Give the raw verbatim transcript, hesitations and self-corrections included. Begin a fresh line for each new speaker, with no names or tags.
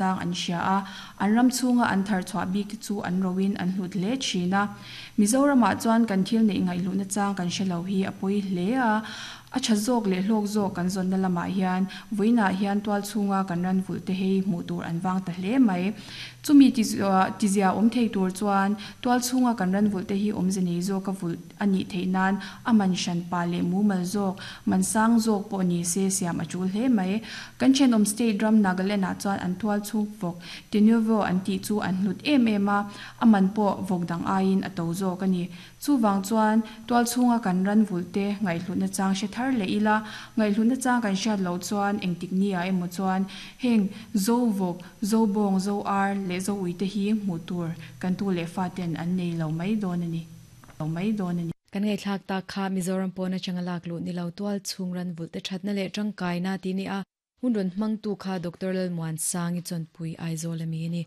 Chang an hria a, an ram chhunga an thar chhuah bik te chu an roin an hlut hle thin a. Mizoramah chuan kan thil neih ngaihhlutna chang kan hre lo hi a pawi hle a, a tha zawk leh hlawk zawk kan zawnna lamah hian vawiinah hian tual chhunga kan ran vulh te hei hmuh tur an vang ta hle mai. Chumi tizia awm thei tur chuan tual chhunga kan ran vulh te hi awmze nei zawka vulh a nih theih nan a man hranpa leh mumal zawk, man sang zawk pawh ni se siam a tul hle mai. Kan thenawm state ram Nagaland-ah chuan an tual chhung vawk Tenuvo an tih chu an hlut em em a, a man pawh vawk dang aiin a to zawk a ni. Chuvang chuan tual chhunga kan ran vulh te ngaihhlutna chang hre thar leh ila, ngaihhlutna chang kan hriat loh chuan engtik ni ah emaw chuan heng Zo vawk, Zo bawng, Zo ar leh Zo ui te hi hmuh tur kan tu leh fa ten an nei lo mai dawn a ni. Lo mai dawn a ni.
Kan ngaihthlak tak kha Mizoram pawn atanga lak luh ni lo tual chhung ran vulh te thatna leh tangkaina tih ni a, hun rawn hmangtu kha Doctor Lalmuansangi Chawnpui Aizawl a mi a ni.